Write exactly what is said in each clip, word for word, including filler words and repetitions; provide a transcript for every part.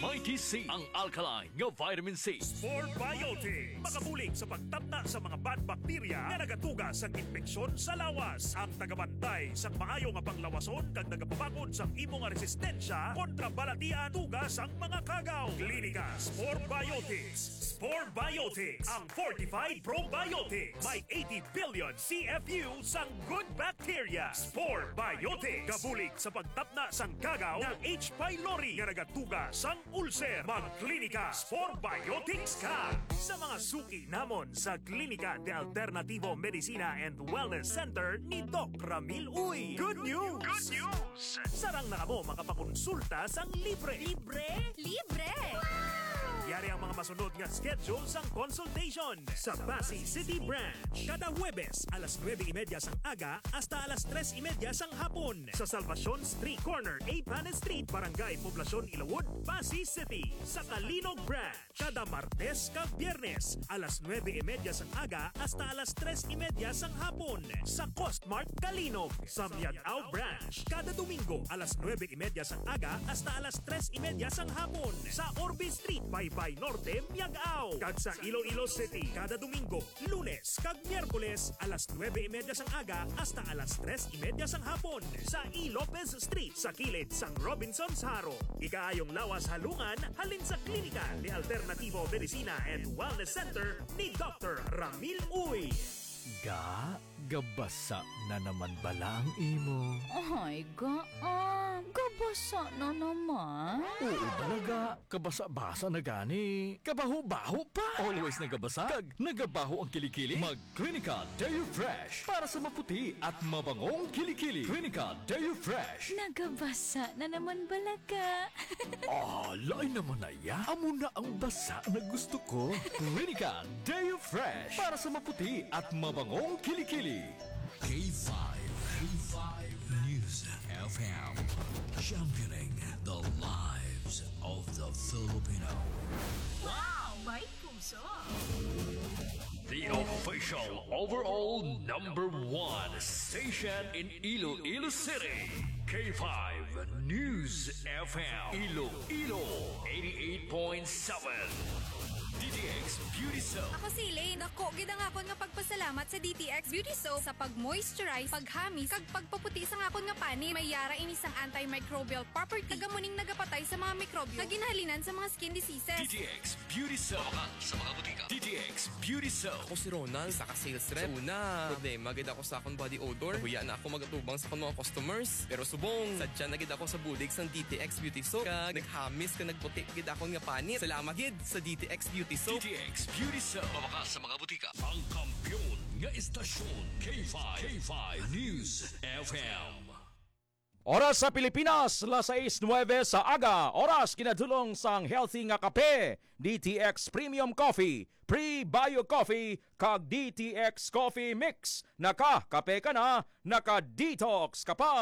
Mighty C, ang alkaline nga vitamin C. Spore Biotics, makabulig sa pagtapna sa mga bad bacteria nga nagatuga sang impeksyon sa lawas. Ang tagabantay sang maayo nga panglawason kag nagapabakod sang imo nga resistensya kontra balatian tuga sang mga kagaw. Klinika Spore Biotics. Spore Biotics, ang fortified probiotics. May eighty billion C F U sang good bacteria. Spore Biotics, gabulig sa pagtapna sang kagaw nga H. pylori nga nagatuga sang ulcer. Magklinika Spore Biotics ka sa mga suki namon sa Klinika de Alternativo Medicina and Wellness Center ni Doc Ramil Uy. Good news! Good news! Sarang na kamo makapakonsulta sang libre. Libre? Libre! Yari ang mga masunod nga schedule sang consultation sa Passi City Branch. Kada Huwebes, alas nuebe y media sang aga hasta alas tres y media sang hapon, sa Salvacion Street, corner A Panes Street, Barangay Poblacion, Ilawod, Passi City. Sa Calinog Branch, kada Martes kag Biyernes, alas nuebe y media sang aga hasta alas tres y media sang hapon, sa Costmart Calinog. Sa Miag-ao Branch, kada Domingo, alas nuebe y media sang aga hasta alas tres y media sang hapon, sa Orbe Street, Baybay Norte, Miag-ao. Kag sa Iloilo City, kada Domingo, Lunes kag Miyerkules, alas nuebe y media sang aga hasta alas tres y media sang hapon, sa E. Lopez Street, sa kilid sang Robinsons Jaro. Ikaayong lawas halungan halin sa Klinika de Alternativo Medicina and Wellness Center ni Doctor Ramil Uy. Ga, gabasa na naman bala ang imo? Ay, ga, ah, gabasa na naman. Oo bala, ga, kabasa-basa na gani. Kabaho-baho pa. Always nagabasa kag nagabaho ang kilikili. Mag Klinika Deo Fresh para sa maputi at mabangong kilikili. Klinika Deo Fresh. Nagabasa na naman bala ka. Ah, lain naman na ya. Amo na ang basa na gusto ko. Klinika Deo Fresh para sa maputi at mabangong kilikili. K five, K five News F M, championing the lives of the Filipino. Wow! May puso! The official overall number one station in Iloilo City, K five News F M, Iloilo, eighty-eight point seven. D T X Beauty Soap. Ako si Elaine. Dako gid ang akon nga pagpasalamat sa D T X Beauty Soap sa pag-moisturize, paghamis, kag pagpaputi sang akon nga panit. May yara ini sang antimicrobial property, kag amo ning nagapatay sa mga mikrobyo nga ginhalinan sa mga skin diseases. D T X Beauty Soap. Sa mga butika. D T X Beauty Soap. Ako si Ronald, isa ka sales rep. Sa una, problema gid ako sa akong body odor. Nahuya na ako mag-atubang sa akong mga customers. Pero subong, sadya na gid ako sa bulig sang D T X Beauty Soap. Kag naghamis, kag nagputi gid akon nga panit. Salamat gid sa D T X Beauty Soap. D T X Beauty Soap. Mabakal sa mga butika. Ang kampiyon nga istasyon, K five, K five News F M. Oras sa Pilipinas, las sais nuebe sa aga. Oras ginadulong sang healthy nga kape, D T X Premium Coffee, Pre-Bio Coffee, kag D T X Coffee Mix. Naka-kape ka na, naka-detox ka pa.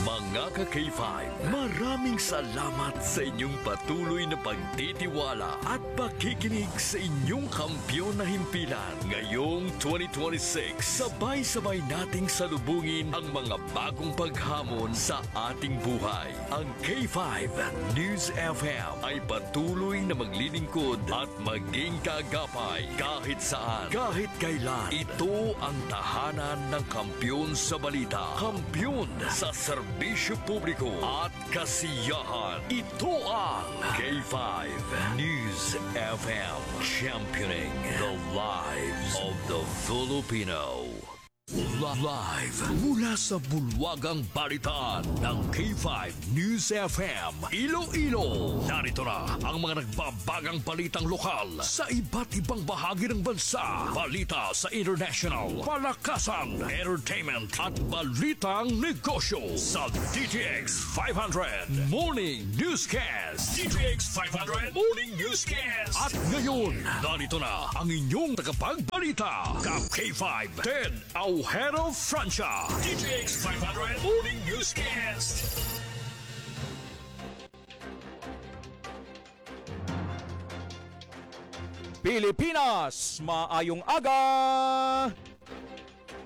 Mga ka K five, maraming salamat sa inyong patuloy na pagtitiwala at pakikinig sa inyong kampiyon na himpilan. Ngayong twenty twenty-six, sabay-sabay nating salubungin ang mga bagong paghamon sa ating buhay. Ang K five News F M ay patuloy na maglilingkod at maging kaagapay kahit saan, kahit kailan. Ito ang tahanan ng kampiyon sa balita, kampiyon sa serbisyo publiko at kasiyahan. Ito ang K five News F M, championing the lives of the Filipino. Live mula sa bulwagang balitaan ng K five News F M Iloilo. Narito na ang mga nagbabagang balitang lokal sa iba't ibang bahagi ng bansa. Balita sa international, palakasan, entertainment, at balitang negosyo sa D T X five hundred Morning Newscast. D T X five hundred Morning Newscast. At ngayon, narito na ang inyong tagapagbalita, ka K five, Ted Aujero Francia. D T X five hundred Morning Newscast. Pilipinas, maayong aga!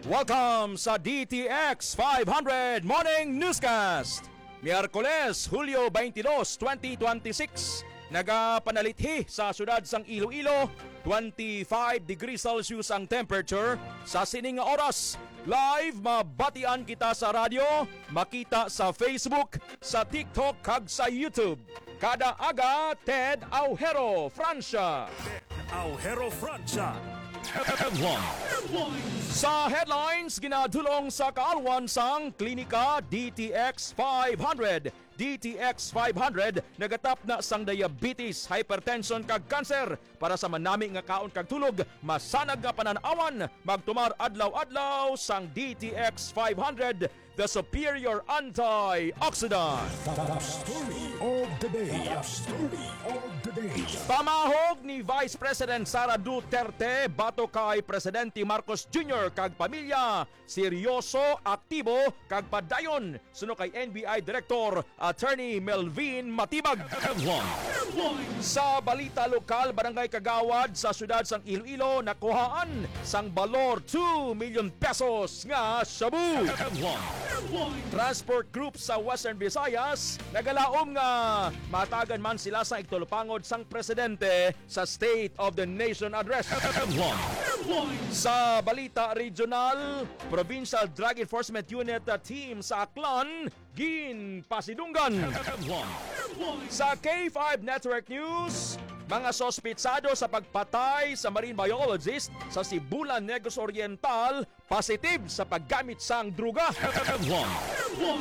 Welcome sa D T X five hundred Morning Newscast. Miyerkules, Hulyo twenty-two, twenty twenty-six, nagapanalithi sa siyudad sang Iloilo, twenty-five degrees Celsius ang temperature. Sa sining nga oras, live mabatian kita sa radyo, makita sa Facebook, sa TikTok, kag sa YouTube. Kada aga, Ted Aujero, Francia. Aujero, Francia. Headlines. Sa headlines, ginadulong sa kaalwan sang Klinika D T X five hundred. D T X five hundred nagatapna sang diabetes, hypertension, kag cancer. Para sa manami nga kaon kag tulog, masanag nga panan-awan, magtumar adlaw-adlaw sang D T X five hundred, the superior antioxidant. The story of the day. The story of the day. Pamahog ni Vice President Sara Duterte batok kay Presidente Marcos Junior kag pamilya, seryoso, aktibo, kag padayon, suno kay N B I Director Attorney Melvin Matibag. Sa balita lokal, barangay kagawad sa siyudad sang Iloilo nakuhaan sang balor two million pesos nga shabu. Transport group sa Western Visayas nagalaom nga matagan man sila sa igtulupangod sang presidente sa State of the Nation Address. Sa balita regional, Provincial Drug Enforcement Unit, uh, team sa Aklan ginpasidunggan. Sa K five Network News, mga sospetsado sa pagpatay sa marine biologist sa Sibulan, Negros Oriental, positive sa paggamit sang druga.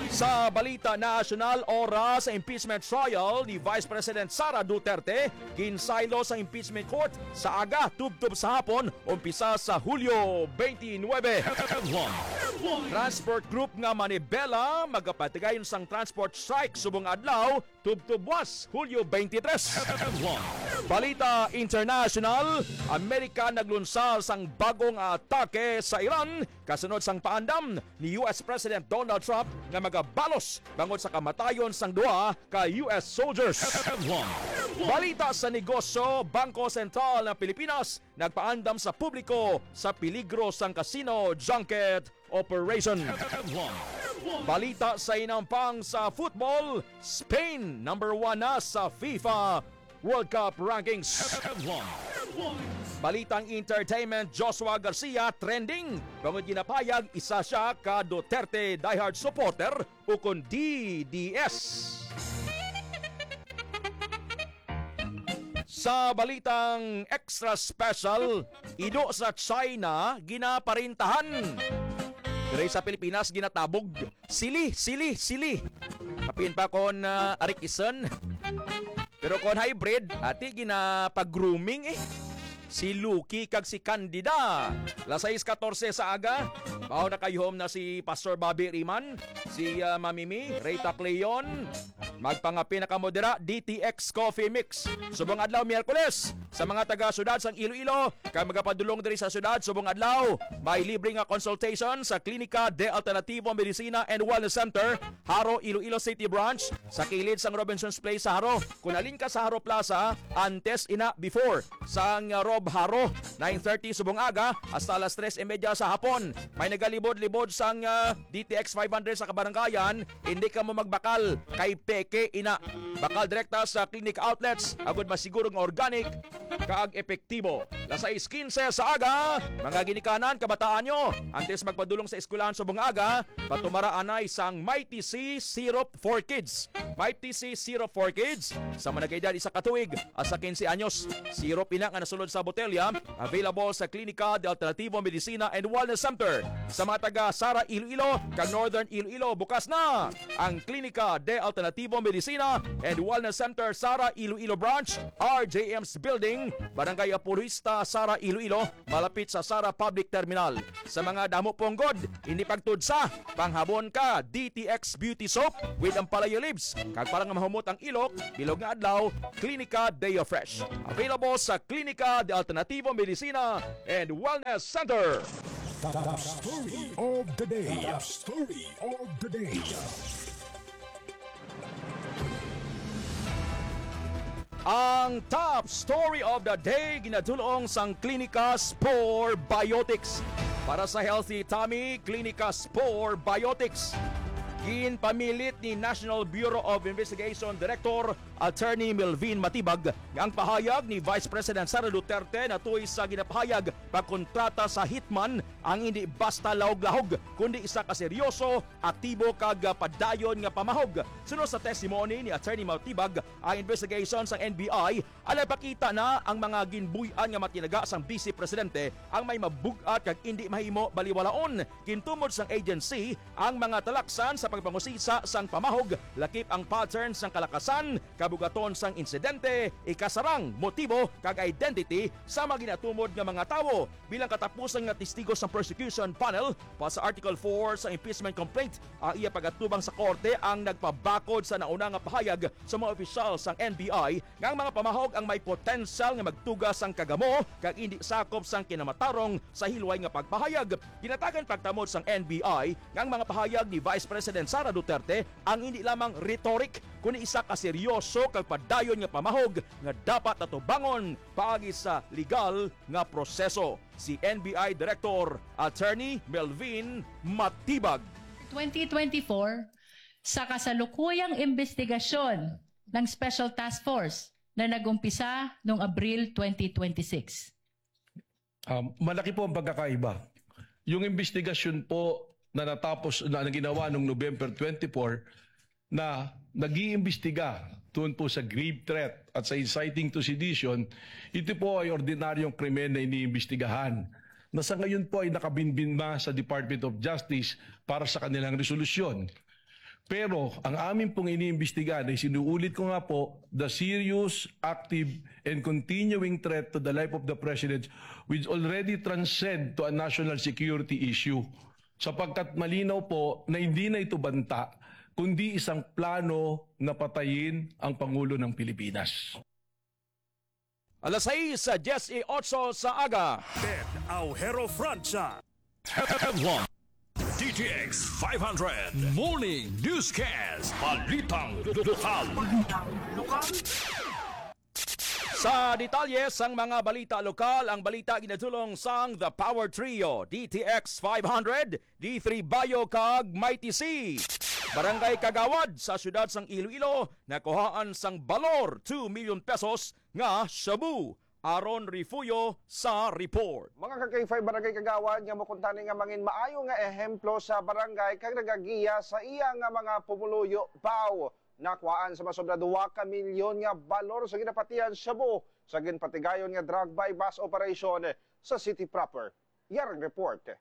Sa balita nasyonal, oras sa impeachment trial ni Vice President Sara Duterte, ginsaylo sa impeachment court sa aga tubtob sa hapon, umpisa sa Hulyo twenty-nine. Transport group nga manibela magapatigayon sang transport strike subong adlaw tubtob buwas, Hulyo twenty-three. Balita international, Amerika naglunsad sang bagong atake sa Iran kasunod sang paandam ni U S President Donald Trump nga magabalos bangod sa kamatayon sang duha ka U S soldiers. Balita sa negosyo, Bangko Sentral ng Pilipinas nagpaandam sa publiko sa peligro sang casino junket operation. Balita sa inampang sa football, Spain number one na sa FIFA World Cup rankings. Balitang entertainment, Joshua Garcia trending bangod ginapahayag isa siya ka Duterte diehard supporter, ukon D D S. Sa balitang extra special, ido sa China ginaparintahan. Diri sa Pilipinas ginatabog. Sili, sili, sili. Kapin pa kon, ah, arik ison. Pero kon hybrid, ati ginapag-grooming eh. Si Lucky kag si Candida. Las sais katorse sa aga. Mao nakayuhom na si Pastor Bobby Riman, si, ah, Mami Mi, Reyta Cleon. Magpangape na kamo dira, D T X Coffee Mix. Subong adlaw, Miyerkules, sa mga taga-syudad sang Iloilo, kag magapadulong diri sa syudad, subong adlaw, may libre nga consultation sa Klinika de Alternativo Medicina and Wellness Center, Jaro, Iloilo City Branch, sa kilid sang Robinsons Place sa Jaro. Kung halin ka sa Jaro Plaza, antes ina, before, sang Rob Jaro, nine thirty subong aga hasta alas tres y media sa hapon. May nagalibod-libod sang, ah, D T X five hundred sa kabaranggayan, hindi ka mo magbakal kay peke ina. Bakal direkta sa clinic outlets, agud masiguro nga organic kag epektibo. Las sais quince sa aga, mga ginikanan, kabataan nyo, antes magpadulong sa eskwelahan subong aga, patumara anay sang Mighty C Syrup for Kids. Mighty C Syrup for Kids, sa mga nag-edad isa ka tuig hasta quince anyos. Syrup ina nga nasulod sa botelya, available sa Klinika de Alternativo Medicina and Wellness Center. Sa mga taga Sara Iloilo kag Northern Iloilo, bukas na ang Klinika de Alternativo Medicina and Wellness Center, Sara Iloilo Branch, R J M's Building, Barangay Apologista, Sara Iloilo, malapit sa Sara Public Terminal. Sa mga damo punggod, hindi pagtudsa, panghabon ka, D T X Beauty Soap with Ampalaya Leaves, kag para nga mahumot ang ilok, bilog nga adlaw, Klinika Deo Fresh. Available sa Klinika de Alternativo Medicina and Wellness Center. The story of the day. The story of the day. Ang top story of the day ginadulong sang Klinika Spore Biotics. Para sa healthy tummy, Klinika Spore Biotics. Ginpamilit ni National Bureau of Investigation Director Attorney Melvin Matibag nga ang pahayag ni Vice President Sara Duterte natuy sa ginapahayag pagkontrata sa hitman ang hindi basta lahog-lahog, kundi isa ka seryoso, aktibo, kag, ah, padayon nga pamahog. Suno sa testimony ni Attorney Matibag, ang investigation sang N B I ang nagpakita na ang mga ginbuy-an nga matinaga sang Vice Presidente ang may mabug-at kag indi mahimo baliwalaon. Gintumod sang agency ang mga talaksan sa pagpangusisa sang pamahog, lakip ang pattern sang kalakasan, kabug-aton sang insidente, ikasarang, motibo, kag identity sa mga ginatumod nga mga tawo. Bilang katapusan nga testigo sang prosecution panel, pa sa Article four sa impeachment complaint, ang iya pagatubang sa korte ang nagpabakod sa nauna nga pahayag sa mga opisyal sang N B I nga ang mga pamahog ang may potensyal nga magtuga sang kagamo kag indi sakop sang kinamatarong sa hilway nga pagpahayag. Ginatagan pagtamod sang N B I nga ang mga pahayag ni Vice President Sara Duterte ang indi lamang rhetoric, kundi isa ka seryoso kag padayon nga pamahog nga dapat atubangon paagi sa legal nga proseso. Si N B I Director Attorney Melvin Matibag. Twenty twenty-four, sa kasalukuyang imbestigasyon ng Special Task Force na nag-umpisa noong Abril twenty twenty-six. Um, malaki po ang pagkakaiba. Yung investigasyon po na natapos, na, na ginawa noong November twenty-four, na nag-iimbestiga tungkol po sa grave threat at sa inciting to sedition, ito po ay ordinaryong krimen na iniimbestigahan na sa ngayon po ay nakabinbin na sa Department of Justice para sa kanilang resolusyon. Pero ang amin pong iniimbestigahan ay, sinuulit ko nga po, the serious, active, and continuing threat to the life of the President, which already transcend to a national security issue. Sapagkat malinaw po na hindi na ito banta, kundi isang plano na patayin ang Pangulo ng Pilipinas. Alas sais, diyes y otso sa aga. Ben Aujero Francia. Headline. D T X five hundred Morning Newscast. Balitang lokal. Sa detalye sang mga balita lokal, ang balita ginadulong sang The Power Trio, D T X five hundred, D three Bayo, kag Mighty C. Barangay Kagawad sa siyudad sang Iloilo nakuhaan sang balor two million pesos nga shabu. Aaron Refugio sa report. Mga ka-K five, Barangay Kagawad nga makuntani nga mangin maayo nga ehemplo sa barangay kag nagagiya sa iya nga mga pumuluyo, pau, nakuhaan sa masobra duha ka milyon nga balor sa ginapatihan shabu sa ginpatigayon nga drug buy-bust operation sa city proper. Yarang report.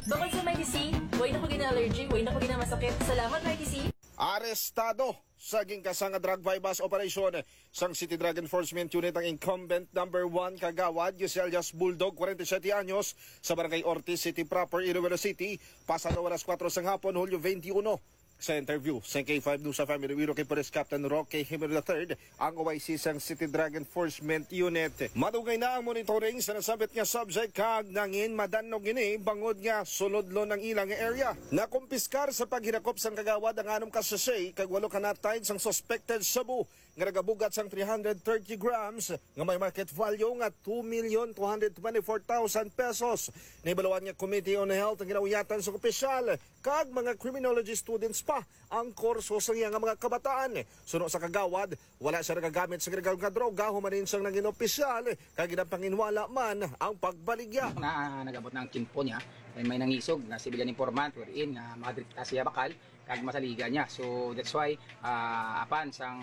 Bukod sa Mighty C, way na ko gina-allergy, way na ko ginamasakit. Salamat, Mighty C. Arestado sa ginkasa nga drug buy-bust operation sang City Drug Enforcement Unit ang incumbent number one kagawad, Giselias Bulldog, forty-seven anyos, sa Barangay Ortiz City proper, Iloilo City, pasado alas kuwatro sang hapon, Hulyo twenty-one. Sa interview sa K five News F M Iloilo kay Police Captain Roque Jimenez the third, ang O I C sang City Drug Enforcement Unit. Madugay na ang monitoring sa nasabit nga subject kag nangin madannog ini bangod nga sulodlon ang ila nga area. Nakumpiskar sa paghilakop sang kagawad ang anom ka sachet kag walo ka nut tines sang suspected shabu nga nagabugat sang three hundred thirty grams nga may market value nga two million two hundred twenty-four thousand pesos. Nahibaluan nga Committee on Health ang ginauyatan sa opisyal kag mga criminology students pa ang kurso sa iya nga mga kabataan. Suno sa kagawad, wala siya nagagamit sa illegal nga droga human siyang nangin opisyal, kag ginapanginwala man ang pagbaligya. Na, nag-abot na ang tiempo niya, may, may nangisog nga civilian informant wherein nga makadiri ta siya bakal kag masaligan niya. So that's why, ah, apan sang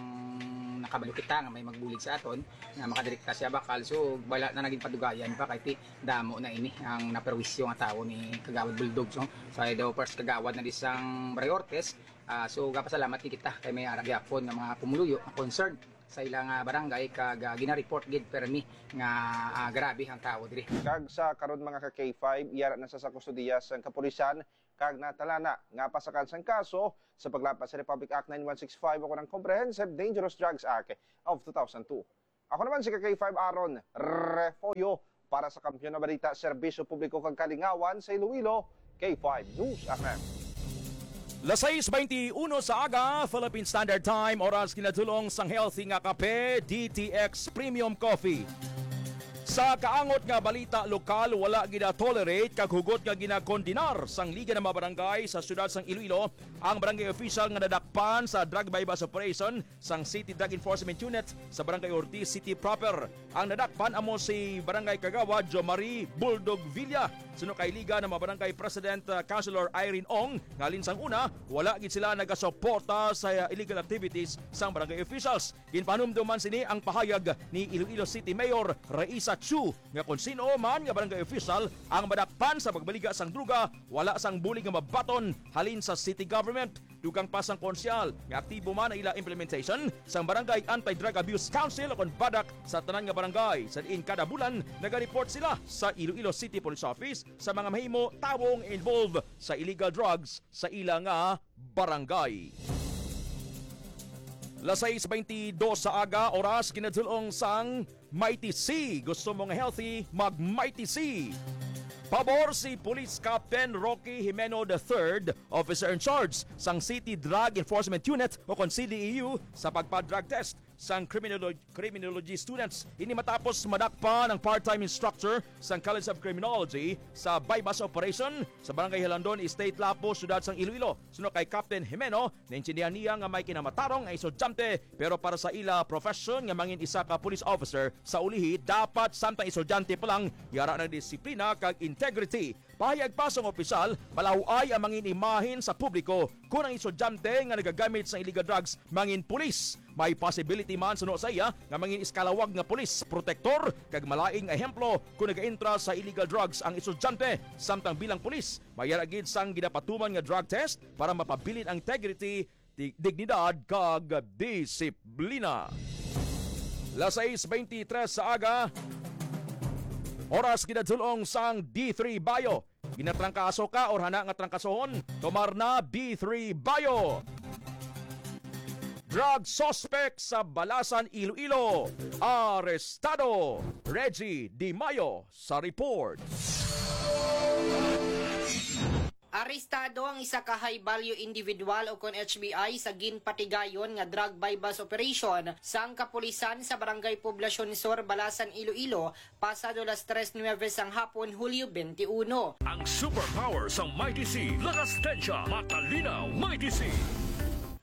nakabalo kita nga may magbulig sa aton, nga makadiri ta siya bakal. So wala na naging padugayan pa kay ti-, damo na ini ang naperwisyo nga tawo ni Kagawad Bulldog. So, sa daw first kagawad na di sang Barangay Ortiz, ah, so gapasalamat ni kita kay may ara gyapon nga mga pumuluyo nga concerned sa ilang, ah, barangay kag, ah, gina-report gid permi nga, ah, grabe ang tawo diri. Kag sa karon, mga ka-K five, yara na sa, sa kustodiya sang kapulisan kag natalana nga pasakan sang kaso sa paglapas sa Republic Act nine one six five o ang Comprehensive Dangerous Drugs Act of two thousand two. Ako naman si ka-K five Aaron Refollo para sa Kampiyon nga Balita, Serbisyo Publiko kag Kalingawan sa Iloilo, K five News F M. Las sais beintiuno sa aga, Philippine Standard Time, oras kinadulong sang healthy nga kape, D T X Premium Coffee. Sa kaangot nga balita lokal, wala gina-tolerate kag hugot nga ginakondenar sang Liga ng mga Barangay sa siyudad sang Iloilo ang barangay official nga nadakpan sa drug buy-bust operation sang City Drug Enforcement Unit sa Barangay Ortiz City proper. Ang nadakpan amo si Barangay Kagawad Jomari Buldog Villa. Suno kay Liga ng mga Barangay President, uh, Councilor Irene Ong, nga halin sang una, wala gid sila nagasuporta sa illegal activities sang barangay officials. Ginpanumduman sini ang pahayag ni Iloilo City Mayor Raisa Chu nga kung sino man nga barangay official ang madakpan sa pagmaliga sang droga, wala sang bulig nga mabaton halin sa city government. Dugang pa sang konsehal nga aktibo man ang ila implementation sang Barangay Anti-Drug Abuse Council o kon BADAC sa tanan nga barangay, sa diin kada bulan nagareport sila sa Iloilo City Police Office sa mga mahimo tawo nga involved sa illegal drugs sa ila nga barangay. Las sais beintidos sa aga, oras ginadulong sang Mighty C. Gusto mo nga healthy? Mag Mighty C. Pabor si Police Captain Rocky Jimeno the third, Officer in Charge sang City Drug Enforcement Unit o kon C D E U, sa pagpa-drug test sang criminolo-, criminology students. Ini matapos madakpan ang part-time instructor sang College of Criminology sa buy-bust operation sa Barangay Hilandon, State Lapu, siyudad sang Iloilo. Suno kay Captain Jimeno, naintindihan niya nga may kinamatarong ang estudyante, pero para sa ila profession nga mangin isa ka police officer sa ulihi, dapat samtang estudyante pa lang yara ng disiplina kag integrity. Pahayag pa sang opisyal, malaw-ay ang mangin imahin sa publiko kon ang estudyante nga nagagamit sa illegal drugs mangin pulis. May possibility man suno sa iya nga mangin iskalawag nga pulis protektor kag malaing ehemplo kon nagaentra sa illegal drugs ang estudyante. Samtang bilang pulis, mayara gid sang ginapatuman nga drug test para mapabilin ang integrity, di-, dignidad kag disiplina. Las sais beintitres sa aga, oras ginadulong sang D three Bayo. Ginatrangkaso ka or hana nga trangkasohon? Tomar na, D three Bayo. Drug suspect sa Balasan, Iloilo, arestado. Reggie Di Mayo sa report. Arestado ang isa ka high value individual o kon H V I sa ginpatigayon nga drug buy-bust operation sang kapulisan sa Barangay Poblacion Sur, Balasan, Iloilo, pasado las tres nuebe sang hapon, Hulyo twenty-one. Ang superpower sang Mighty C, lakas tensya, matalinaw, Mighty C.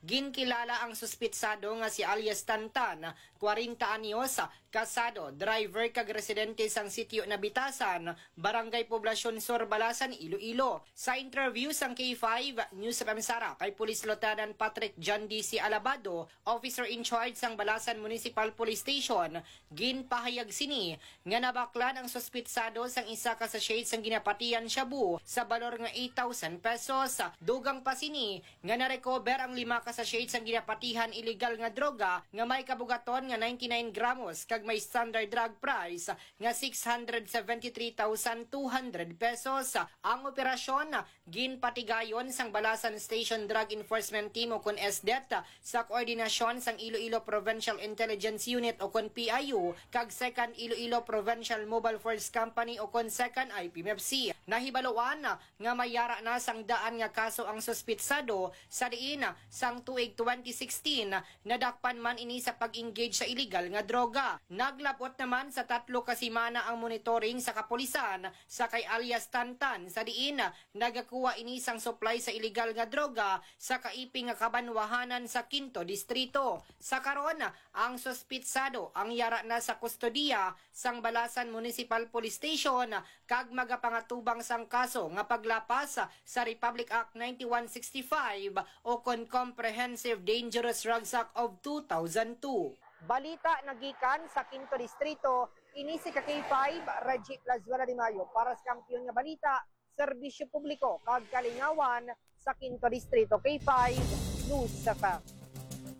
Ginkilala ang suspitsado nga si alias Tantan, kwarenta anyos, kasado, driver kag residente sang Sitio Nabitasan, Barangay Poblacion Sur, Balasan, Iloilo. Sa interview sang K five News F M Sara kay Police Lieutenant Patrick John D C Alabado, officer in charge sang Balasan Municipal Police Station, ginpahayag sini nga nabaklan ang suspitsado sang isa ka sachet sang ginapatihan shabu sa balor nga eight thousand pesos. Dugang pa sini, nga na-recover ang lima ka sachet sang ginapatihan iligal nga droga nga may kabugaton nga ninety-nine gramos kag may standard drug price nga six hundred seventy-three thousand two hundred pesos. Ang operasyon ginpatigayon sang Balasan Station Drug Enforcement Team o kon S D E T sa koordinasyon sang Iloilo Provincial Intelligence Unit o kon P I U kag Second Iloilo Provincial Mobile Force Company o kon Second I P M F C. Nahibaluan nga may yara na sang daan nga kaso ang suspitsado, sa diin sang tuig twenty sixteen, nadakpan man ini sa pag-engage sa iligal nga droga. Naglabot naman sa tatlo ka semana ang monitoring sa kapulisan sa kay alias Tantan, sa diin nagakuha ini sang supply sa iligal nga droga sa kaiping nga kabanwahanan sa Quinto Distrito. Sa karon, ang suspitsado ang yara na sa kustodiya sang Balasan Municipal Police Station kag magapangatubang sang kaso nga paglapas sa Republic Act ninety-one sixty-five o kon Comprehensive Dangerous Drugs Act of two thousand two. Balita nagikan sa Quinto Distrito, ini si ka K five, Reggie Plazuela de Mayo, para sa Kampiyon nga Balita, Serbisyo Publiko kag Kalingawan sa Quinto Distrito, K five News F M.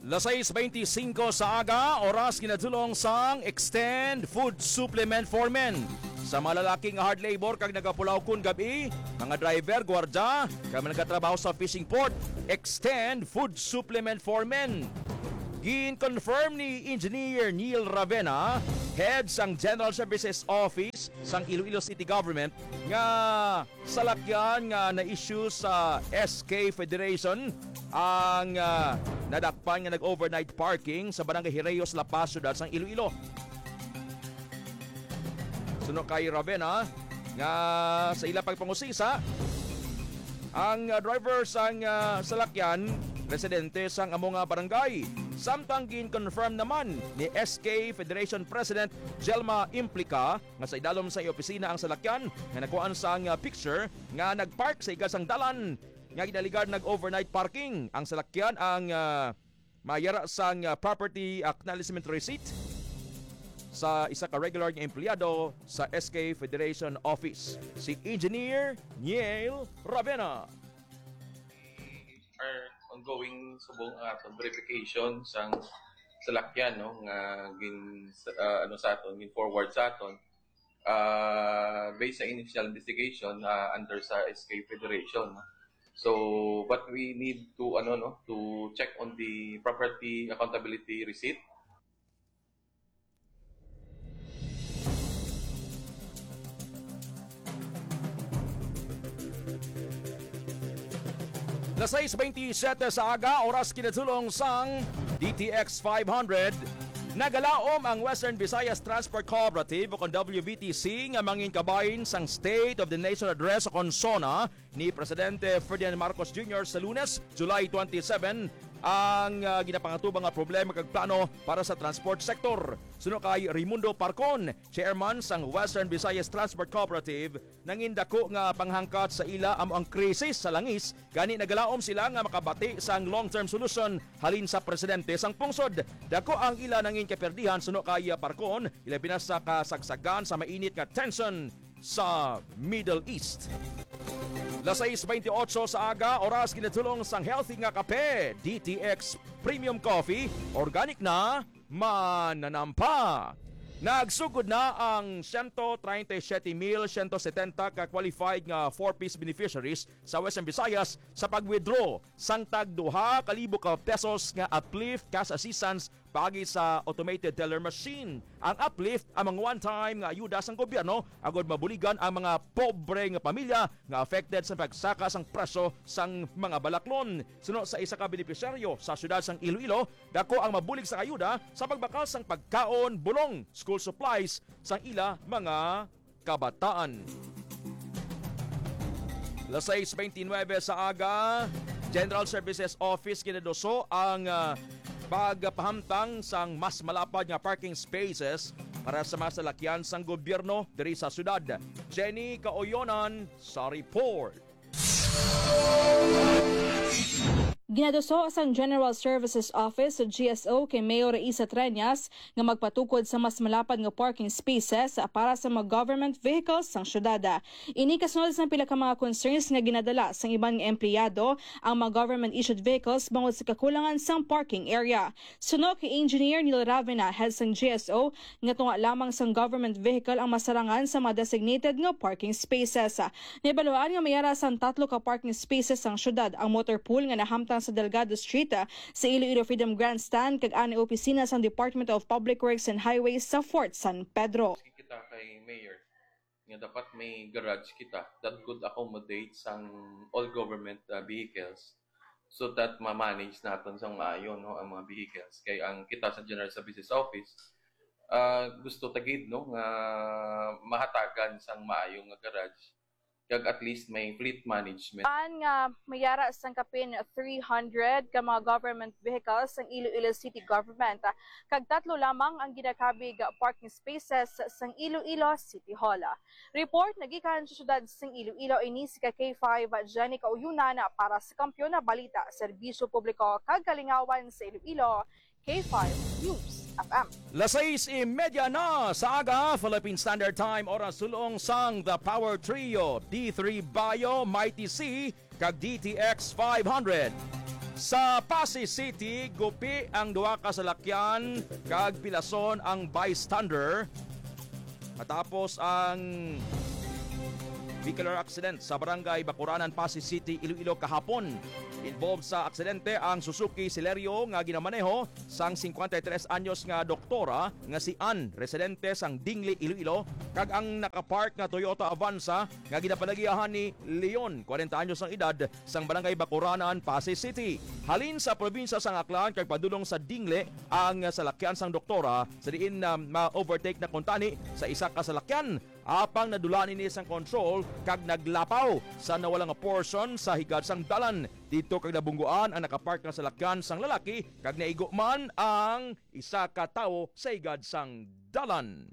Las sais beintisinko sa aga, oras ginadulong sang Extend Food Supplement for Men. Sa mga lalaki nga hard labor kag nagapulaw kon gab-i, mga driver, gwardya, kag mga nagatrabaho sa fishing port, Extend Food Supplement for Men. Gin-confirm ni Engineer Neil Ravena, head sang General Services Office sang Iloilo City Government, nga salakyan nga na-issue sa S K Federation ang, ah, nadakpan nga nag-overnight parking sa Barangay Hireos, La Paz, siyudad sang Iloilo. Suno kay Ravenna, nga sa ila pagpangusisa, ang, ah, driver sang, ah, salakyan residente sang amo nga barangay. Samtang gin-confirm naman ni S K Federation President Jelma Implica nga sa idalom sa iya opisina ang salakyan nga nakuhaan sang, ah, picture nga nagpark sa igal sang dalan nga ginaligar nag-overnight parking. Ang salakyan ang, ah, mayara sang, ah, property acknowledgement receipt sa isa ka regular nga empleyado sa S K Federation Office, si Engineer Niel Ravena. Are ongoing subong ang aton verification sang salakyan, no, nga gin, ah, ano, sa aton, gin forward sa aton, ah, based sa initial investigation, ah, under sa S K Federation, no? So, but we need to, ano, no, to check on the property accountability receipt. Las sais baynte siyete sa aga, oras kinatulong sang D T X five hundred. Nagalaom ang Western Visayas Transport Cooperative o kon W V T C nga mangin kabahin sang State of the Nation Address o kon SONA ni Presidente Ferdinand Marcos Junior sa Lunes, July twenty-seven, ang, ah, ginapangatubang nga problema kag plano para sa transport sector. Suno kay Raimundo Parcon, chairman sang Western Visayas Transport Cooperative, nangin dako nga panghangkat sa ila amo ang krisis sa langis, gani nagalaom sila nga makabati sang long-term solution halin sa presidente sang pungsod. Dako ang ila nangin kaperdihan suno kay Parcon, ilabi na sa kasagsagan sa mainit nga tension sa Middle East. Las sais baynte otso sa aga, oras kinatulong sang healthy nga kape, D T X Premium Coffee, organic na, mananampa. Nagsugod na ang siyento treinta y siete mil siyento setenta ka qualified nga four Ps beneficiaries sa Western Visayas sa pag-withdraw sang tag duha ka libo ka pesos nga uplift cash assistance paagi sa automated teller machine. Ang uplift amo ang one-time nga ayuda sang gobyerno agod mabuligan ang mga pobre nga pamilya nga affected sa pagsaka sang presyo sang mga balaklon. Suno sa isa ka benepisyaryo sa siyudad sang Iloilo, dako ang mabulig sang ayuda sa pagbakal sang pagkaon, bulong, school supplies sang ila mga kabataan. Las sais baynte nuebe sa aga, General Services Office ginaduso ang, ah, pagpahamtang sang mas malapad nga parking spaces para sa mga salakyan sang gobyerno diri sa siyudad. Jenny Kaoyonan sa report. Ginaduso sang General Services Office o G S O kay Mayor Raisa Treñas nga magpatukod sa mas malapad nga parking spaces para sa mga government vehicles sang siyudad. Ini kasunod sang pila ka mga concerns nga ginadala sang iban nga empleyado ang mga government-issued vehicles bangod sa kakulangan sang parking area. Suno kay Engineer Neil Ravena, head sang G S O, nga tunga lamang sang government vehicle ang masarangan sa mga designated nga parking spaces. Nabaluan nga may ara sang tatlo ka parking spaces sang siyudad ang motor pool nga nahamtang sa Delgado Street, ah, sa Iloilo Freedom Grandstand kag anay opisina sang Department of Public Works and Highways sa Fort San Pedro. Kita kay Mayor nga dapat may garage kita that could accommodate sang all government, uh, vehicles so that ma-manage naton sang maayo, no, ang mga vehicles. Kay ang kita sa General Services Office, uh, gusto ta gid, no, nga mahatagan sang maayo nga garage kag at least may fleet management. An nga mayara sang kapin three hundred ka mga government vehicles sang Iloilo City Government, kag tatlo lamang ang ginakabig parking spaces sang Iloilo City Hall. Report nagikan sa siyudad sang Iloilo, ini si ka K five Jenny Kauyonan para sa Kampiyon na Balita, Serbisyo Publiko kag Kalingawan sa Iloilo, K five News F M. Las sais y media na sa aga, Philippine Standard Time, oras sulong sang The Power Trio, D three Bio, Mighty C, kag D T X five hundred. Sa Passi City, gupi ang duha ka salakyan kag pilason ang bystander matapos ang vehicular accident sa Barangay Bacuranan, Passi City, Iloilo kahapon. Involved sa aksidente ang Suzuki Celerio nga ginamaneho sang singkwenta y tres anyos nga doktora nga si Ann, residente sang Dingle, Iloilo, kag ang nakapark nga Toyota Avanza nga ginapalagiahan ni Leon, kwarenta anyos ang edad, sang Barangay Bacuranan, Passi City. Halin sa probinsya sang Aklan kag padulong sa Dingle ang salakyan sang doktora, sa diin na ma-overtake na kuntani sa isa ka salakyan. apang nadula ini sang kontrol kag naglapaw sa nawala nga portion sa higad sang dalan didto kag nabungguan ang nakapark nga salakyan sang lalaki kag naigo man ang isa ka tawo sa higad sang dalan.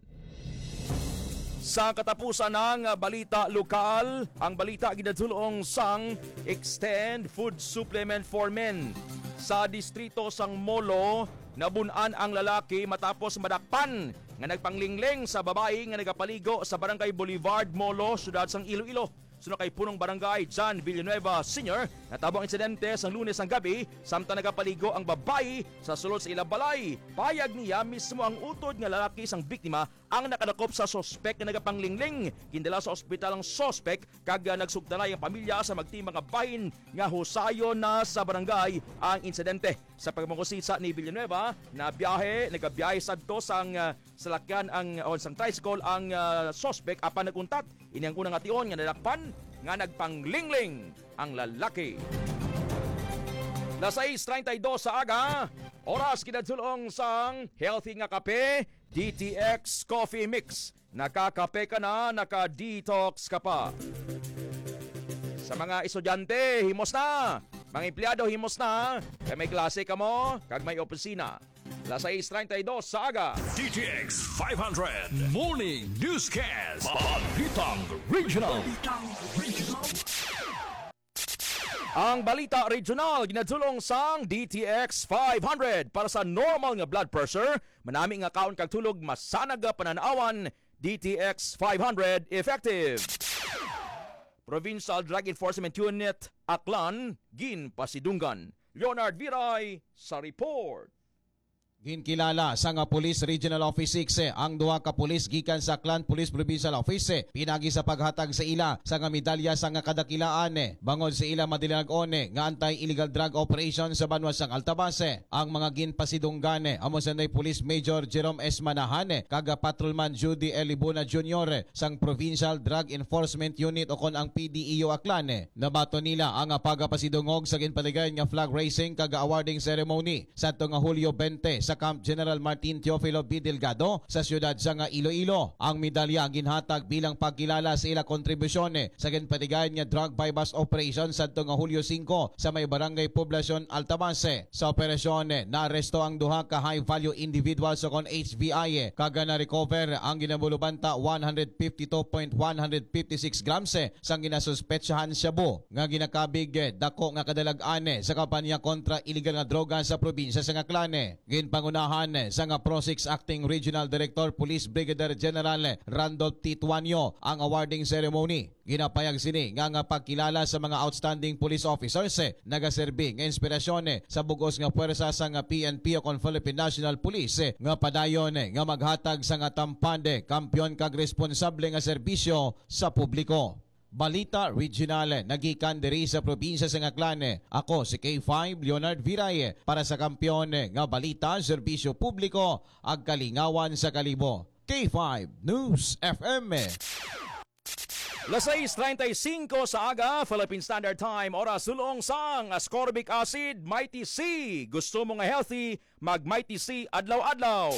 Sa katapusan ng balita lokal, ang balita ginadulong sang Extend Food Supplement for Men. Sa distrito sang Molo, nabun-an ang lalaki matapos madakpan nga nagpanglingling sa babayi nga nagapaligo sa Barangay Boulevard, Molo, siyudad sang Iloilo. Suno kay Punong Barangay John Villanueva Senior, natabo ang insidente sang Lunes ang gabi, samtang nagapaligo ang babayi sa sulod sa ila balay. Payag niya, mismo ang utod nga lalaki sang biktima ang nakadakop sa suspek nga nagapanglingling. Gindala sa ospital ang suspek kag, ah, nagsugtalay ang pamilya sa magting mga bahin nga husayon na sa barangay ang insidente. Sa pagpangusisa ni Villanueva, na biyahe, nagabiyahe sadto sang, ah, salakyan ang, o sang tricycle ang, ah, suspek apan nag-untat. Ini ang una nga tion nga nadakpan nga nagpanglingling ang lalaki. Las sais treinta y dos sa aga, oras kinadulong sang healthy nga kape, D T X Coffee Mix. Nakakape ka na, naka-detox ka pa. Sa mga estudyante, himos na. Mga empleyado, himos na. Kay may klase kamo, kag may opisina. Las sais treinta y dos sa aga. D T X five hundred Morning Newscast. Balitang Regional. Ang balita regional ginadulong sang D T X five hundred. Para sa normal nga blood pressure, manami nga kaon kag tulog, masanag nga panan-awan, D T X five hundred effective. Provincial Drug Enforcement Unit, Aklan, ginpasidunggan. Leonard Viray sa report. Ginkilala sa nga Police Regional Office six, eh, ang duha ka pulis gikan sa Aklan Police Provincial Office, eh, pinagi sa paghatag sa ila sa nga medalya sa nga kadakilaan, eh, bangod sa ila madilag-on, eh, nga anti-illegal drug operation sa banwa sang Altavas, eh. Ang mga ginpasidunggan, eh, amo sanday Police Major Jerome S. Manahan, eh, kag Patrolman Judy L. Libona Junior, eh, sang Provincial Drug Enforcement Unit o kon ang P D E U Aklan, eh. Nabaton nila ang pagapasidungog sa ginpatigayon nga flag raising kag awarding ceremony sadto nga Hulyo twenty sa Camp General Martin Teofilo B. Delgado sa siyudad sa nga Iloilo. Ang medalya ginhatag bilang pagkilala sa ila kontribusyon sa ginpatigayon nga drug buy-bust operation sadto nga Hulyo singko sa may Barangay Poblacion, Altavas. Sa operasyon, naaresto ang duha ka high-value individuals o kon H V I, kag na-recover ang ginabulubanta one hundred fifty two point one hundred fifty six grams sang ginasuspetsahan shabu nga ginakabig dako nga kadalag-an sa kampanya kontra iligal nga droga sa probinsya sang Aklan. Ginpangunahan sa nga PROSIX Acting Regional Director Police Brigadier General Randolph T. Tuanyo ang awarding ceremony. Ginapayag sini nga nga pagkilala sa mga outstanding police officers, eh, nagaserbi nga inspirasyon, eh, sa bug-os nga puwersa sang P N P o kon Philippine National Police, eh, nga padayon, eh, nga maghatag sa nga tampad, eh, kampiyon kag responsable nga serbisyo sa publiko. Balita regional, eh, nagikan diri sa probinsya sang Aklan, eh. Ako si K five Leonard Viray, eh, para sa kampiyon, eh, nga balita, serbisyo publiko, ag kalingawan sa kalibo. K five News F M. Las sais treinta y cinco sa aga, Philippine Standard Time, oras dulong sang ascorbic acid, Mighty C. Gusto mo nga healthy? Mag Mighty C adlaw-adlaw.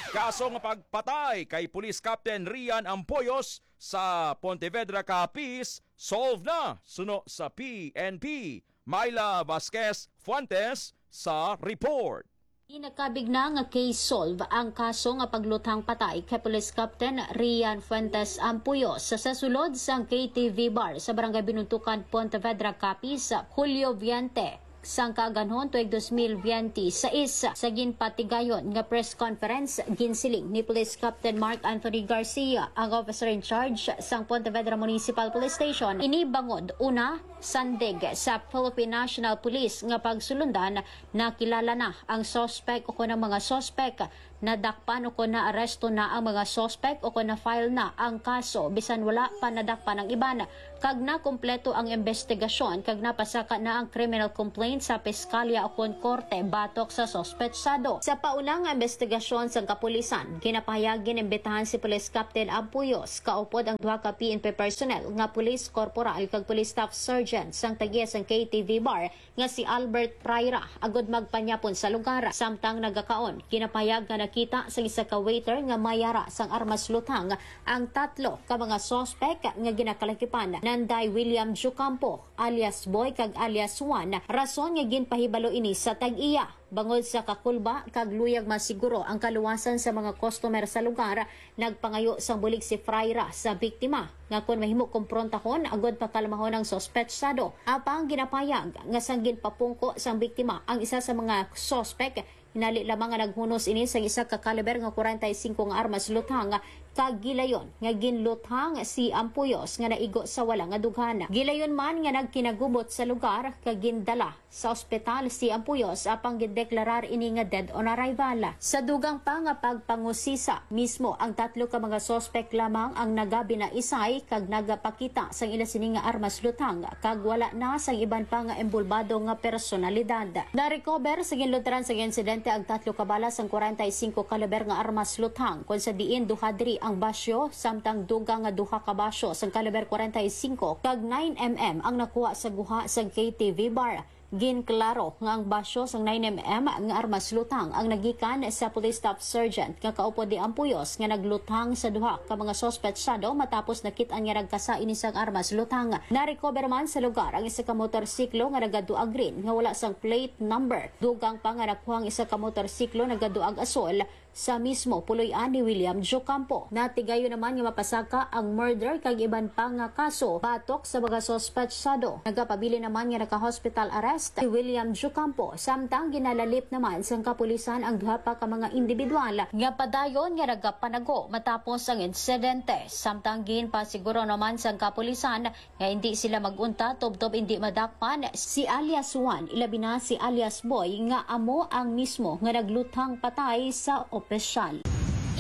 Kaso nga pagpatay kay Police Captain Rian Ampoyos sa Pontevedra, Capiz, solve na suno sa P N P. Myla Vasquez Fuentes sa report. Ginakabig na nga case solve ang kaso nga pagluthang patay kay Police Captain Rian Fuentes Ampuyo sa, sa sulod sang K T V bar sa Barangay Binuntukan, Pontevedra, Capiz, Hulyo twenty sang kaaganhon tuig dos mil biyente sais. Sa ginpatigayon nga press conference, ginsiling ni Police Captain Mark Anthony Garcia, ang officer in charge sang Pontevedra Municipal Police Station, ini bangod, una, sandig sa Philippine National Police nga pagsulundan, nakilala na ang suspek o kon ang mga suspek, nadakpan o kon naaresto na ang mga suspek o kon na-file na ang kaso bisan wala pa nadakpan ang iban, kag nakumpleto ang imbestigasyon kag napasaka na ang criminal complaint sa piskalya o kon korte batok sa suspetsado. Sa pauna nga imbestigasyon sang kapulisan, ginapahayag ginimbitahan si Police Captain Ampuyos, kaupod ang duha ka P N P personnel nga police corporal kag police staff sergeant sang tag-iya sang K T V bar nga si Albert Praira agud magpanyapon sa lugar. Samtang nagakaon, ginapahayag nga Kita sa isa ka waiter nga may ara sang armas luthang ang tatlo ka mga suspek nga ginakalakipan, Nanday William Jucampo, alias Boy, kag alias Juan, rason nga ginpahibalo ini sa tag-iya. Bangod sa kakulba kag luyag masiguro ang kaluwasan sa mga customer sa lugar, nagpangayo sang bulig si Fraira sa biktima nga kon mahimo komprontahon agud pakalmahon ang suspetsado. Apang ginapayag nga sang ginpapungko sang biktima ang isa sa mga suspek, hinali lamang nga naghunos ini sang isa ka kaliber nga kwarenta y singko nga armas luthang kag gilayon nga ginluthang si Ampuyos nga naigo sa wala nga dughan. Gilayon man nga nagkinagubot sa lugar kag gindala sa ospital si Ampuyos, apang gindeklarar ini nga dead on arrival. Sa dugang pa nga pagpangusisa, mismo ang tatlo ka mga suspek lamang ang nagabinaisay kag nagapakita sang ila sini nga armas luthang, kag wala na sang iban pa nga embulbado nga personalidad. Narecover sa ginluturan sang insidente ang tatlo ka bala sang kwarenta y singko kaliber nga armas luthang, kon sa diin duha diri ang basyo, samtang dugang nga duha ka basyo sang kaliber kwarenta y singko kag nine M M ang nakuha sa guha sang K T V bar. Ginklaro nga ang basyo sang nine M M nga armas luthang ang nagikan sa Police Staff Sergeant nga kaupod ni Ampuyos nga nagluthang sa duha ka mga suspetsado matapos nakit-an nga nagkasa ini sang armas luthang. Narecover man sa lugar ang isa ka motorsiklo nga nagaduag green nga wala sang plate number. Dugang pa nga nakuha ang isa ka motorsiklo nagaduag asol sa mismo puloy-an ni William Jocampo. Natigayon naman nga mapasaka ang murder kag iban pa nga kaso batok sa mga suspetsado. Nagapabilin naman nga naka-hospital arrest si William Jocampo, samtang ginalalip naman sang kapulisan ang duha pa ka mga individual nga padayon nga nagapanago matapos ang insidente. Samtang ginpasiguro naman sang kapulisan nga hindi sila mag-untat tubtob hindi madakpan si alias Juan, ilabi na si alias Boy, nga amo ang mismo nga nagluthang patay sa opisyal.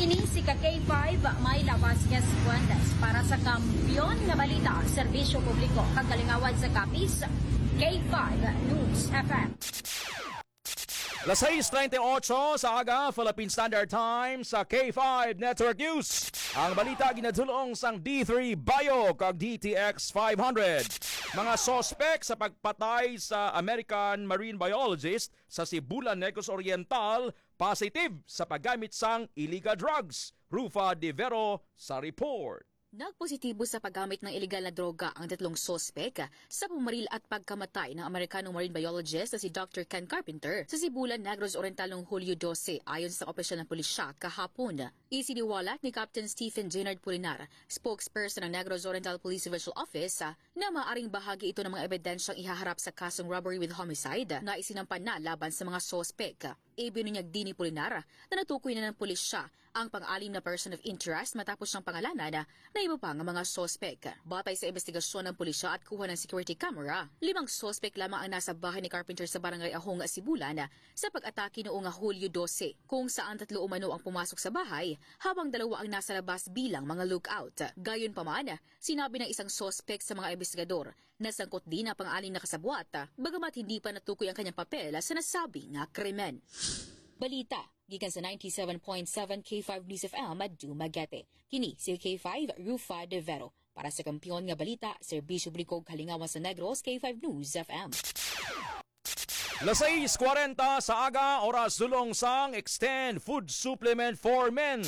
Ini si ka K five, Myla Vasquez Fuentes, para sa Kampiyon nga Balita, Serbisyo Publiko, kag Kalingawan sa Capiz, K five News F M. Las sais treinta y ocho sa aga, Philippine Standard Time, sa K five Network News. Ang balita ginadulong sang D three Bio kag D T X five hundred. Mga suspek sa pagpatay sa American marine biologist sa Sibulan, Negros Oriental, positive sa paggamit sang illegal drugs. Rufa De Vero sa report. Nagpositibo sa paggamit ng iligal na droga ang tatlong suspek sa pumaril at pagkamatay ng Amerikanong marine biologist na si Doctor Ken Carpenter sa Sibulan, Negros Oriental noong Hulyo dose, ayon sa opisyal ng pulisya kahapon. Isiniwalat ni Captain Stephen Jenard Pulinar, spokesperson ng Negros Oriental Police Regional Office, na maaring bahagi ito ng mga ebidensyang ihaharap sa kasong robbery with homicide na isinampa na laban sa mga suspek. Ibinunyag din ni Pulinar na natukoy na ng pulisya ang pang-anim na person of interest matapos siyang pangalanan na iba pa nga mga suspek. Batay sa investigasyon ng pulisya at kuha ng security camera, limang suspek lamang ang nasa bahay ni Carpenter sa Barangay Ahong, Sibulan, sa pag-atake noong Hulyo dose, kung saan tatlo umano ang pumasok sa bahay habang dalawa ang nasa labas bilang mga lookout. Gayunpaman, sinabi ng isang suspek sa mga investigador na sangkot din ang pang-anim na kasabwat, bagamat hindi pa natukoy ang kanyang papel sa nasabing nga krimen. Balita gikan sa ninety-seven point seven K five News F M, Dumaguete. Kini si K five, Rufa De Vero. Para sa Kampiyon nga Balita, Serbisyo Publiko, Kalingawan sa Negros, K five News F M. Las sais kwarenta sa aga, oras dulong sang Extend Food Supplement for Men.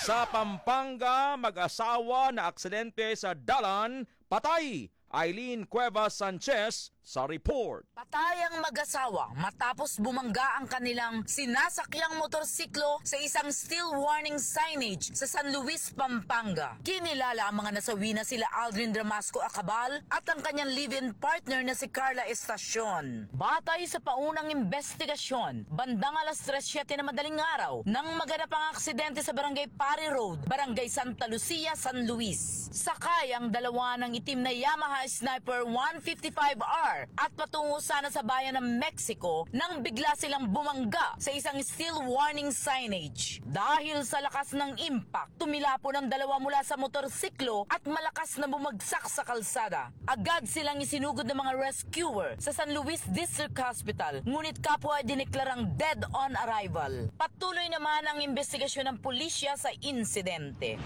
Sa Pampanga, mag-asawa na aksidente sa dalan, patay. Eileen Cuevas Sanchez sa report. Patay ang mag-asawa matapos bumangga ang kanilang sinasakyang motorsiklo sa isang steel warning signage sa San Luis, Pampanga. Kinilala ang mga nasawi na sila Aldrin Ramasco Acabal at ang kanyang live-in partner na si Carla Estacion. Batay sa paunang investigasyon, bandang alas tres siete na madaling araw nang maganap ang aksidente sa Barangay Pari Road, Barangay Santa Lucia, San Luis. Sakay ang dalawa ng itim na Yamaha Sniper one fifty-five R at patungo sana sa bayan ng Mexico nang bigla silang bumangga sa isang steel warning signage. Dahil sa lakas ng impact, tumilapon ang dalawa mula sa motorsiklo at malakas na bumagsak sa kalsada. Agad silang isinugod ng mga rescuer sa San Luis District Hospital, ngunit kapwa dineklarang dead on arrival. Patuloy naman ang investigasyon ng pulisya sa insidente.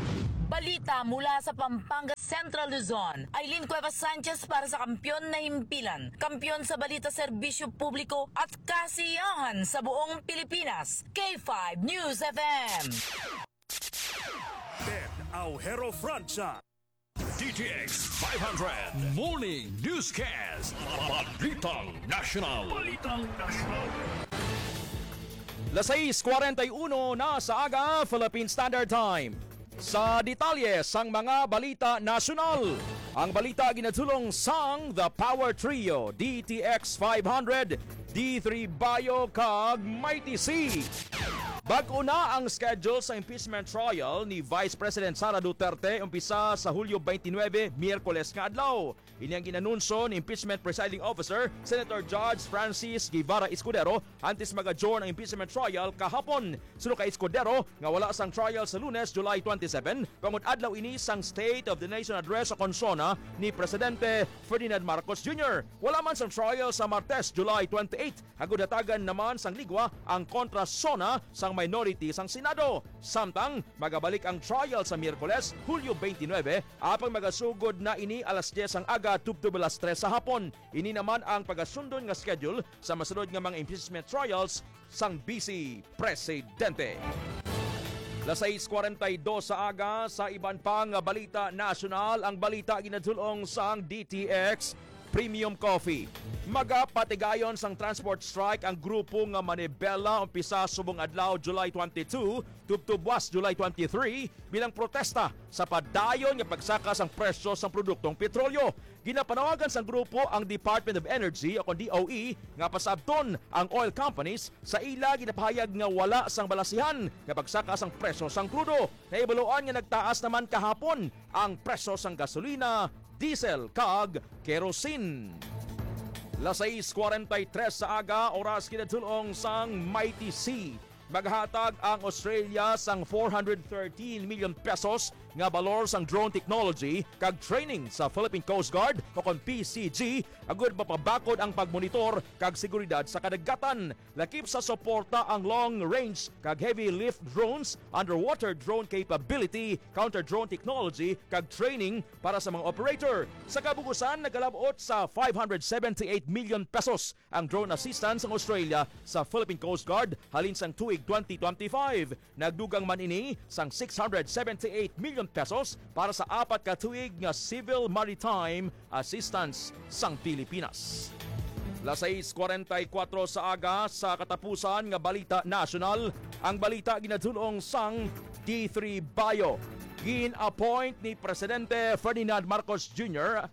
Balita mula sa Pampanga, Central Luzon. Aileen Cuevas Sanchez para sa Kampiyon na Himpilan, kampiyon sa balita, serbisyo publiko at kasiyahan sa buong Pilipinas. K five News F M. Ted Aujero Francia. D T X five hundred Morning Newscast. Balitang National. Balitang National. Las sais cuarenta y uno na sa aga, Philippine Standard Time. Sa detalye sang mga balita nasyonal, ang balita ginadulong sang The Power Trio, D T X five hundred, D three Bio, kag Mighty C. Bag-o na ang schedule sa impeachment trial ni Vice President Sara Duterte, umpisa sa Hulyo twenty-nine, Miyerkules nga adlaw. Ini ang gin-anunsyo ni Impeachment Presiding Officer, Senator Judge Francis Guevara Escudero, antes mag-adjourn ang impeachment trial kahapon. Suno kay Escudero, nga wala sang trial sa Lunes, July twenty-seven, bangod adlaw ini sang State of the Nation Address o kon SONA ni Presidente Ferdinand Marcos Junior. Wala man sang trial sa Martes, July twenty-eight, agud hatagan naman sang ligwa ang kontra SONA sang minority sang Senado. Samtang magabalik ang trial sa Miyerkules, Hulyo twenty-nine, apang magasugod na ini alas diyes sang aga tubtob alas tres sa hapon. Ini naman ang pagasundon nga schedule sa masunod nga mga impeachment trials sang Vice Presidente. Las sais cuarenta y dos sa aga, sa iban pa nga balita nasyonal, ang balita ginadulong sang D T X Premium Coffee. Magapatigayon sang transport strike ang grupo nga Manibela, umpisa subong adlaw, July twenty-two, tubtob buwas, July twenty-three, bilang protesta sa padayon nga pagsaka sang presyo sang produktong petrolyo. Ginapanawagan sang grupo ang Department of Energy o kon D O E nga pasabton ang oil companies sa ila ginapahayag nga wala sang balasihan nga pagsaka sang presyo sang krudo. Nahibaluan nga nagtaas naman kahapon ang presyo sang gasolina, diesel, kag kerosene. Las sais cuarenta y tres sa aga, oras kinatulong sang Mighty C. Maghatag ang Australia sang four hundred thirteen million pesos nga balor sang drone technology kag training sa Philippine Coast Guard o kon P C G, agud mapabakod ang pagmonitor kag seguridad sa kadagatan. Lakip sa suporta ang long-range kag heavy lift drones, underwater drone capability, counter-drone technology, kag training para sa mga operator. Sa kabugusan, nagalab-ot sa five hundred seventy-eight million pesos ang drone assistance sang Australia sa Philippine Coast Guard halin sang tuig twenty twenty-five. Nagdugang man ini sang six hundred seventy-eight million pesos para sa apat ka tuig nga civil maritime assistance sang Pilipinas. Las sais cuarenta y cuatro sa aga, sa katapusan nga balita nasyonal, ang balita ginadulong sang D three Bio. Gin-appoint ni Presidente Ferdinand Marcos Junior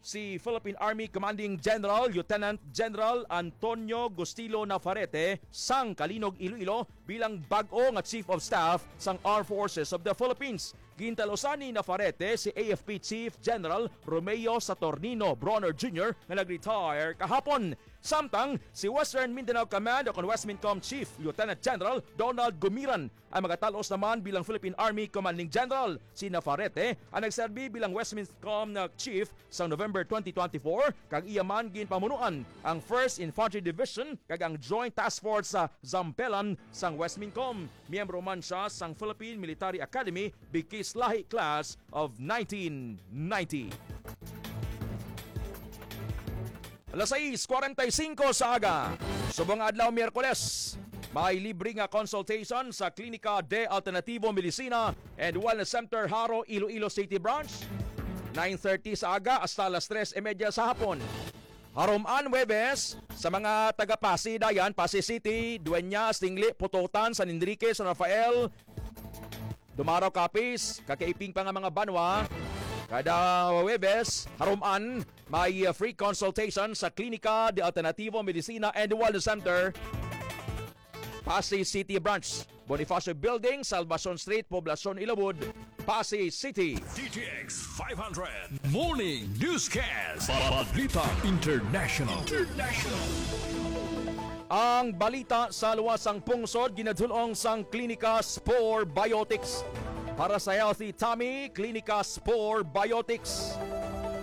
si Philippine Army Commanding General Lieutenant General Antonio Gustilo Nafarete sang Calinog, Iloilo bilang bag-o nga Chief of Staff sang Armed Forces of the Philippines. Gintalusan ni Nafarete si A F P Chief General Romeo Saturnino Bronner Junior nga nag-retire kahapon. Samtang si Western Mindanao Command o kon Westmincom Chief Lieutenant General Donald Gumiran ang magatalos naman bilang Philippine Army Commanding General. Si Nafarete ang nagserbi bilang Westmincom na Chief sang November twenty twenty-four, kag iya man ginpamunuan ang First Infantry Division kag ang Joint Task Force sa Zampelan sang Westmincom. Miyembro man sia sang Philippine Military Academy Bikis Lahi Class of nineteen ninety. Alas sais cuarenta y cinco sa aga, subong adlaw, Miyerkules, may libre nga consultation sa Klinika de Alternativo Medicina and Wellness Center, Jaro, Iloilo City Branch, nine thirty sa aga hasta alas tres y media sa hapon. Haruman, Huwebes, sa mga taga Passi, Dayan, Passi City, Dueñas, Tingle, Pototan, San Enrique, San Rafael, Dumarao, Capiz, kag kaiping pa nga mga banwa. Kada Huwebes, haruman, may, uh, free consultation sa Klinika de Alternativo Medicina and Wellness Center, Passi City Branch, Bonifacio Building, Salvacion Street, Poblacion, Ilawod, Passi City. D T X five hundred Morning Newscast. Balita International. International. Ang balita sa luwas sang pungsod ginadulong sang Klinika Spore Biotics. Para sa healthy tummy, Klinika Spore Biotics.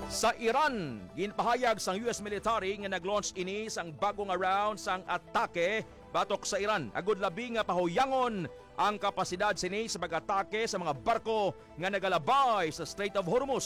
Sa Iran, ginpahayag sang U S military nga nag-launch ini sang bag-o nga round sang atake batok sa Iran, agud labi nga pahuyangon ang kapasidad sini sa pag-atake sa mga barko nga nagalabay sa Strait of Hormuz.